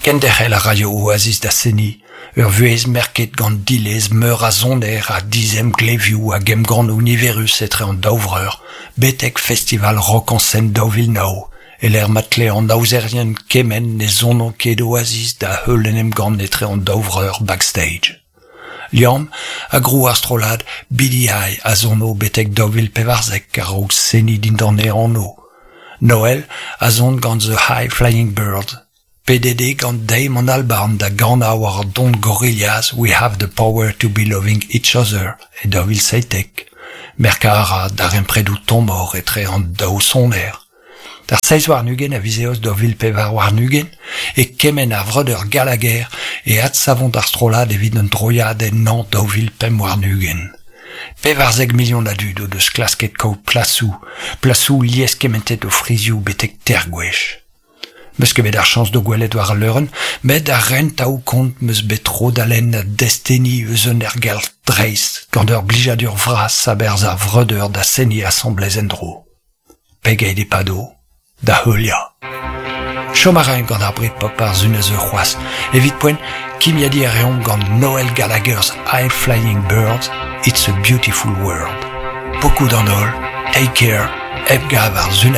Kenderc'hel a raio Oasis da seniñ, ur vuhez merket gant dilez meur a soner ha dizemglevioù hag emgannoù niverus etre an daou vreur, betek festival Rock en Seine 2009, e-lec'h ma tle an aozerien kemenn ne sono ket Oasis da heul en emgann etre an daou vreur backstage. Liam a grou ar strollad BDI a sono betek 2014 a-raok seniñ dindan e anv. Noel a son gant The High Flying Birds. Pedet eo gant Damon Albarn da ganañ war don Gorillaz We Have the Power to Be Loving Each Other e 2017. Merkañ a ra darempredoù tommoc'h etre an daou soner. D'ar 27 a viz Eost 2024 e kemenn ar vreudeur Gallagher e adsavont ar strollad evit un droiad en hañv 2025. 14 milion a dud o deus klasket kaout plasoù, plasoù lieskementet o frizioù betek teir gwech. 'Meus ket bet ar chañs d'o gwelet war al leurenn, met ar rentaoù-kont 'meus bet tro da lenn desteni eus un aergelc'h dreist gant ur blijadur vras a-berzh ar vreudeur da seniñ asambles en-dro. Pegeit e pado da heuliañ. Chom a raimp gant ar Britpop ar sun a zeu c'hoazh. Evit poent, kimiadiñ a reomp gant Noel Gallagher's High Flying Birds, It's a Beautiful World. Pokoù d'an holl, take care, hep gav ar sun.